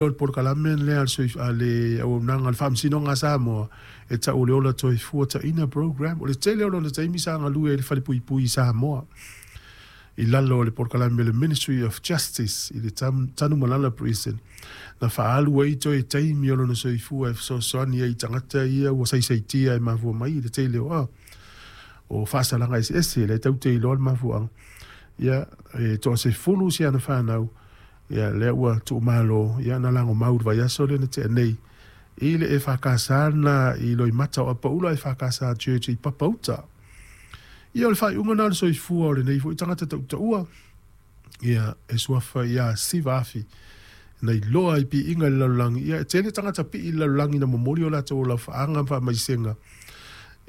O le polokalame lea a le auaunaga a le Faamasinoga a Samoa e tau o le Ola Toifua Taina Program. O le tele o lona taimi sa galue ai i le falepuipui i Samoa i lalo o le polokalame a le Ministry of Justice i le Tanumalala Prison na faaalu ai toe taimi o lona soifua e fesoasoani ai i tagata ia ua saisaitia e mafua mai i le tele o faasalaga eseese lea tatou te iloa le mafuaaga. Ia, e toasefulu si ana fanau. Ia, lea ua tuumalo, ia, na lagomau i le vaiaso lea na tea nei i le EFKS na i Loimata o Apaula EFKS Church i Papauta. Ia, o le faaiuga na o le soifua o lenei foi tagata tautaua, ia, e suafa ia Siva Afi, na iloa i piiga i le lalolagi. Ia, e tele tagata pii i le lalolagi na momoli o latou laufaaga ma faamaisega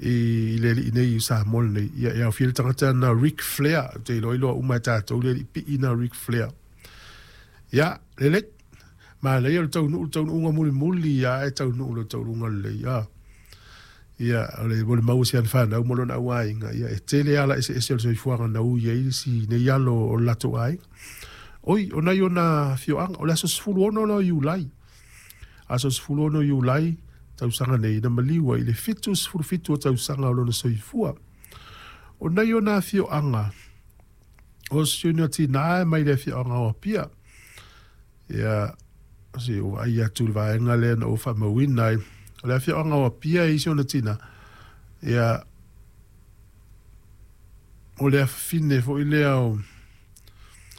i le alii nei i Samoa lenei. Ia, e aofia le tagata na Ric Flair, ou te iloa iloa uma e tatou le alii pii na Ric Flair. Ia, lelei. Manaia o le taunuu, le taunuuga mulimuli ia e taunuu le taunuuga lelei. Ia, ia o le mo le maua si ana fanau ma lona auaiga. Ia, e tele ala eseese o le soifuaga na ui ai si nei alo o le latou aiga. Oi, o nai ona afioaga, o le aso 16 la o Iulai. Aso 16 Iulai, tausaga nei, na maliu ai i le 77 o tausaga o lona soifua. O nai ona afioaga, O si ona tinā e mai le afioaga o Apia. Ia, se i ou vaai atu i le vaega lea na ou faamauina ai. O le afioaga o Apia e i si ona tinā. Ia, o le afafine foi lea o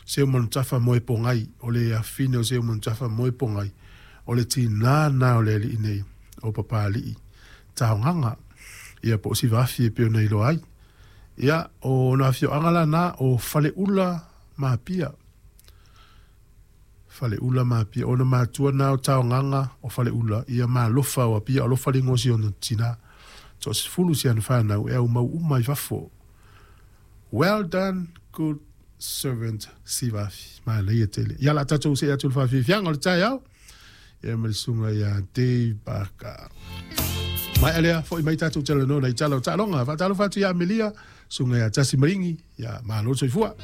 Seumanutafa Moepogai, o le afafine o Seumanutafa Moepogai, o le tinā lena o le alii nei o Papalii Taogaga, ia po o Sivaafi e pei ona iloa ai. Ia, o ona afioaga la na, o Faleula ma Apia. Faleula ma Apia. O ona matua na o Taogaga o Faleula, ia ma Alofa o Apia. O Alofa le igoa o si ona tina. Toasefulu si ana fanau e aumau uma i fafo. Well done, good servant, Sivafi. Manaia tele. Ia, la tatou see atu i le faafiafiaga o le taeao. Ia ma le susuga ia Dave Barker. Maea lea, foi mai tatou talanoa nai tala o taaloga. Faatalofa atu ia Amelia, susuga ia Tasi Maringi, ia malo le soifua.